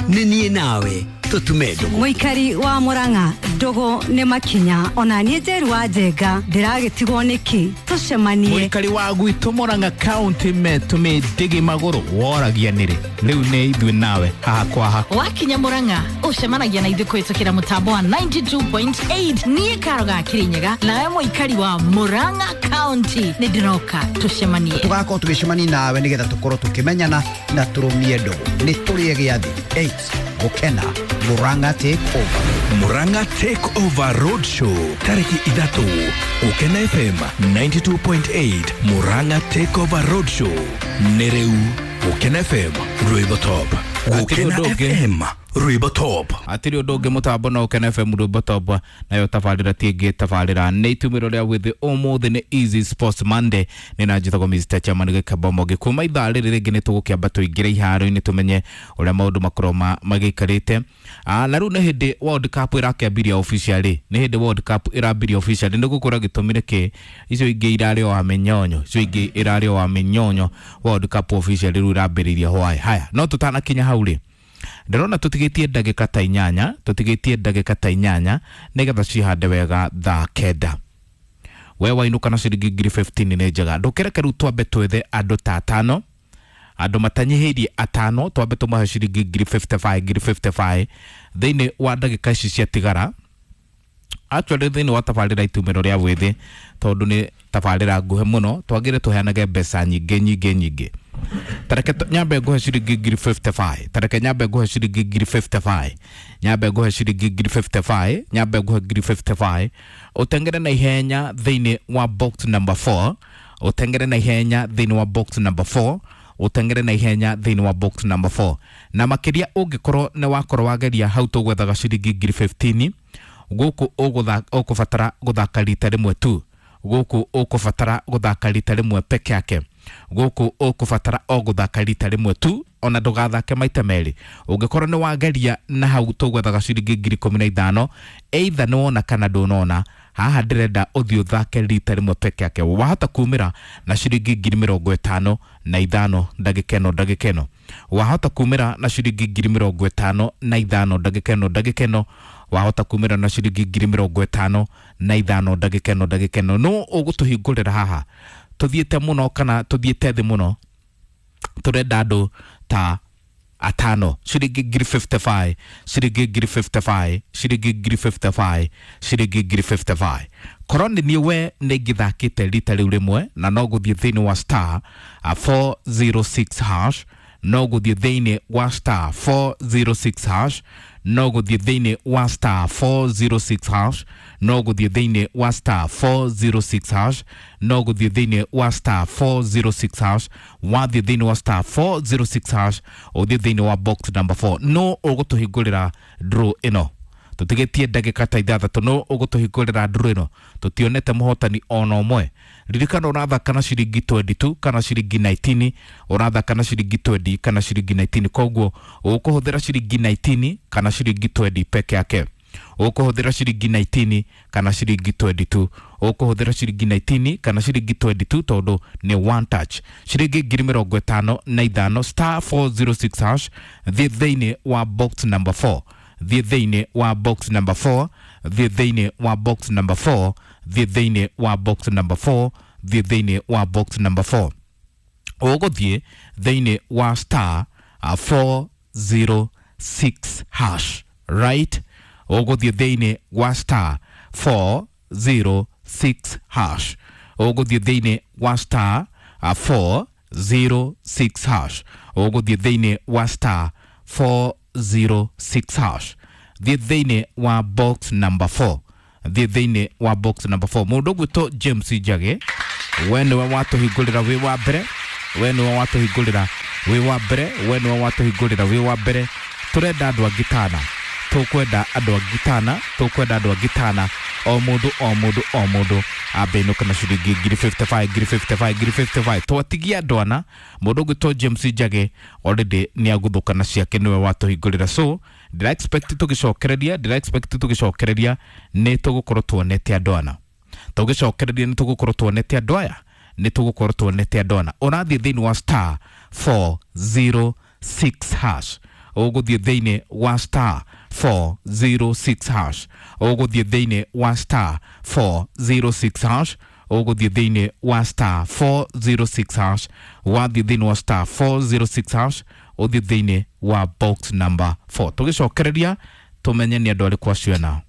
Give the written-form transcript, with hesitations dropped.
Nĩ niĩ nawe tũtume ndũgũ. Mũikari wa Murang'a, ndũgũ nĩ makinya. Ona niĩ Njeru wa Njenga ndĩragĩtigwo nĩkĩ? Tũcemanie. Mũikari wa gwitũ Murang'a County metũmĩ ndĩgĩ magũrũ woragia nĩrĩ rĩu nĩ ithuĩ nawe haha kwa haha. Wakinya Murang'a ũcemanagia na ithuĩ kũhĩtũkĩra mũtambo wa 92.8. Niĩ Karo ga Kĩrĩnyaga nawe mũikari wa Murang'a County nĩ ndĩroka tũcemanie. Tũgakorwo tũgĩcemania nawe nĩgetha tũkorwo tũkĩmenyana na tũrũmie ndũgũ. Nĩ tũrĩe gĩathĩ 8 gũkena Murang'a Take Over. Murang'a Take Over Road Show tariki 3, Gũkena FM 92.8. Murang'a Take Over Road Show nĩ rĩu. Gũkena FM, rwĩmbo top. Gũkena Hatirĩ ũndũ ũngĩ. FM, rwĩmbo top. Atirĩ ũndũ ũngĩ mũtambo no Ũkena FM rwĩmbo top, nayo tabarĩra ti ĩngĩ, tabarĩra nĩ itumĩro rĩa wĩthĩ. Ũmũthĩ nĩ Easy Sports Monday, nĩ na njĩtagwo Mr Chairman Gĩkambomo. Kuma ithaa rĩrĩ rĩngĩ nĩ tũgũkĩamba tũingĩre iharo-inĩ tũmenye ũrĩa maũndũ makorwo magĩikarĩte. Na rĩu nĩ hĩndĩ World Cup ĩrakĩambiria officially, nĩ hĩndĩ World Cup ĩrambiria officially. Nĩ gũkorwo gĩtũmi nĩ kĩ? Icio ingĩ irarĩ o wa mĩnyonyo, icio ingĩ irarĩ o wa mĩnyonyo. World Cup officially rĩu ĩrambĩrĩirie hwaĩ. Haya, no tũtanakinya hau rĩ, ndĩrona tũtigĩtie ndagĩka ta 8, tũtigĩtie ndagĩka ta 8 nĩgetha cihande wega thaa 9. We wainũka na ciringi ngiri 15 nĩ njega. Ndũkereke rĩu twambe twethe andũ ta 5, andũ matanyihĩirie 5, twambe tũmahe ciringi ngiri 55, ngiri 55 thĩinĩ wa ndagĩka ici ciatigara. Actually thĩinĩ wa tabarĩra itumĩro rĩa wĩthĩ, tondũ nĩ tabarĩra nguhĩ mũno, twagĩrĩire tũheanage mbeca nyingĩ nyingĩ nyingĩ. Tareke nyambe nguhe ciringi ngiri 55, tareke nyambe nguhe ciringi ngiri 55, nyambe nguhe ciringi ngiri 55, nyambe nguhe ngiri 55. Ũtengere na ihenya thĩinĩ wa box number 4, ũtengere na ihenya thĩinĩ wa box number 4, ũtengere na ihenya thĩinĩ wa box number 4. Na makĩria ũngĩkorwo nĩ wakorwo wageria hau tũgwethaga ciringi ngiri 15, gũkũ ũkũbatara gũthaka rita rĩmwe tu, gũkũ ũkũbatara gũthaka rita rĩmwe peke yake, gũkũ ũkũbatara o gũthaka rita rĩmwe tu, ona ndũgathake maita merĩ. Ũngĩkorwo nĩ wageria na hau tũgwethaga ciringi ngiri 15, either nĩ wona kana ndũnona, haha ndĩrenda ũthiĩ ũthake rita rĩmwe peke yake. Wahota kumĩra na ciringi ngiri 55 ndagĩka ĩno, ndagĩka ĩno. Wahota kumĩra na ciringi ngiri 55 ndagĩka ĩno, ndagĩka ĩno. Wahota kumĩra na ciringi ngiri 55 ndagĩka ĩno, ndagĩka ĩno. No ũgũtũhingũrĩra haha tũthiĩte mũno kana tũthiĩte thĩ mũno, tũrenda andũ ta 5, ciringi ngiri 55, ciringi ngiri 55, ciringi ngiri 55, ciringi ngiri 55. Korwo nĩ niĩ we nĩ ingĩthakĩte rita rĩu rĩmwe, na no gũthiĩ thĩinĩ wa star 406 hash, no gũthiĩ thĩinĩ wa star 406 hash, no gũthiĩ thĩinĩ wa star 406 hash, no gũthiĩ thĩinĩ wa star 406 hash, no gũthiĩ thĩinĩ wa star 406 hash. Wathiĩ thĩinĩ wa star 406 hash, ũthiĩ thĩinĩ wa box number 4. No ũgũtũhingũrĩra draw ĩno, tũtigĩtie ndagĩka ta 6, no ũgũtũhingũrĩra draw ĩno, tũtionete mũhotani ona ũmwe. Ririkana ũrathaka na ciringi 22 kana ciringi 19, ũrathaka na ciringi 20 kana ciringi 19, koguo ũkũhũthĩra ciringi 19 kana ciringi 20 peke yake. Ũkũhũthĩra ciringi 19 kana ciringi 22, ũkũhũthĩra ciringi 19 kana ciringi 22, tondũ nĩ one touch. Ciringi ngiri 55, star 406 hash, thiĩ thĩinĩ wa box number 4, thiĩ thĩinĩ wa box number 4, thiĩ thĩinĩ wa box number 4, thiĩ thĩinĩ wa box number 4, thiĩ thĩinĩ wa box number 4. Ũgũthiĩ thĩinĩ wa star 406 hash, right? Ũgũthiĩ thĩinĩ wa star 406 hash, ũgũthiĩ thĩinĩ wa star 406 hash, ũgũthiĩ thĩinĩ wa star 406 hash, thiĩ thĩinĩ wa box number 4, thiĩ thĩinĩ wa box number 4. Mũndũ ũgwĩtwo James Njage, we nĩwe watũhingũrĩra wĩ wa mbere, we nĩwe watũhingũrĩra wĩ wa mbere, we nĩwe watũhingũrĩra wĩ wa mbere. Tũrenda andũ angĩ tana, tũkwenda andũ angĩ tana, tũkwenda andũ angĩ tana, o mũndũ o mũndũ o mũndũ ambe inũka na ciringi ngiri 55, ngiri 55, ngiri 55. Twatigia andũ ana, mũndũ ũgwĩtwo James Njage already nĩ aguthũka na ciake, nĩwe watũhingũrĩra. So ndĩra expect tũgĩcokereria, ndĩra expect tũgĩcokereria nĩ tũgũkorwo tuonete andũ ana, tũgĩcokereria nĩ tũgũkorwo tuonete andũ aya, nĩ tũgũkorwo tuonete andũ ana. Ũrathiĩ thĩinĩ wa star 406 hash, Ũgũthiĩ thĩinĩ wa star 406 hash, ũgũthiĩ thĩinĩ wa star 406 hash, ũgũthiĩ thĩinĩ wa star 406 hash. Wathiĩ thĩinĩ wa star 406 hash, ũthiĩ thĩinĩ wa box number 4, tũgĩcokereria tũmenye nĩ andũ arĩkũ acio ena.